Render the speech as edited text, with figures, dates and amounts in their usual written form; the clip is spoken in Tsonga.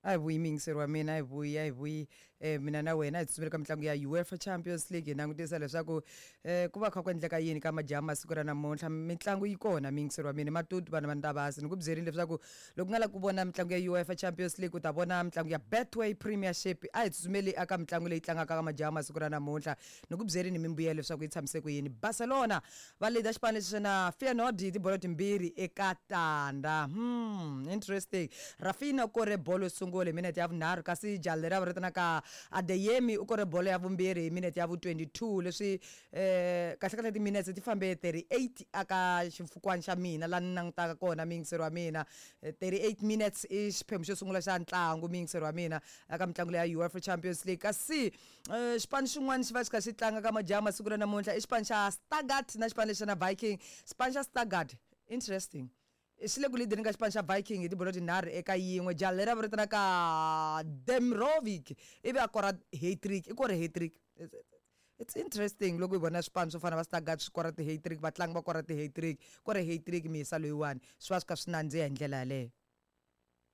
A hi vuyi muyingiseri wa mina, a hi vuyi, a hi vuyi mina na wena hi tsutsumela ka mitlangu ya UEFA Champions League hi langutisa leswaku ku va kha ku endleka yini ka majaha masiku ra namuntlha. Mitlangu yi kona muyingiseri wa mina, matutu vana va Ntavasi. Ni ku byerile leswaku loko u nga lavi ku vona mitlangu ya UEFA Champions League u ta vona mitlangu ya Betway Premiership. A hi tsutsumeli eka mitlangu leyi tlangaka ka majaha masiku ra namuntlha. Ni ku byerile mimbuyelo leswaku yi tshamise ku yini. Barcelona va leader xipano lexi na Feyenoord hi tibolo timbirhi eka tandza. Interesting. Raphinha u kore bolo yo sungula hi minete ya vunharhu kasi jaha leri a va vitanaka Adeyemi u kore bolo ya vumbirhi hi minete ya vu 22. Leswi kahlekahle timinetse ti fambe 38 aka ximfukwani xa mina laha ni langutaka kona muyingiseri wa mina. 38 minutes i xiphemu xo sungula xa ntlangu muyingiseri wa mina eka mitlangu leya UEFA Champions League. Kasi xipano xin'wana xi va xi kha xi tlanga ka majaha masiku ra namuntlha i xipano xa Stuttgart na xipano lexi na Viking. Xipano xa Stuttgart, interesting, xi le ku leadeni ka xipano xa Viking hi tibolo tinharhu eka yin'we. Jaha leri a va vitanaka Demirovic ivi a kora hat-trick, i kore hat-trick. It's interesting loko hi vona swipano swo fana va Stuttgart swi kora ti-hat-trick, vatlangi va kora ti-hat-trick, kore hat-trick miyisa loyiwani swi va swi kha swi nandziha hi ndlela yaleyo.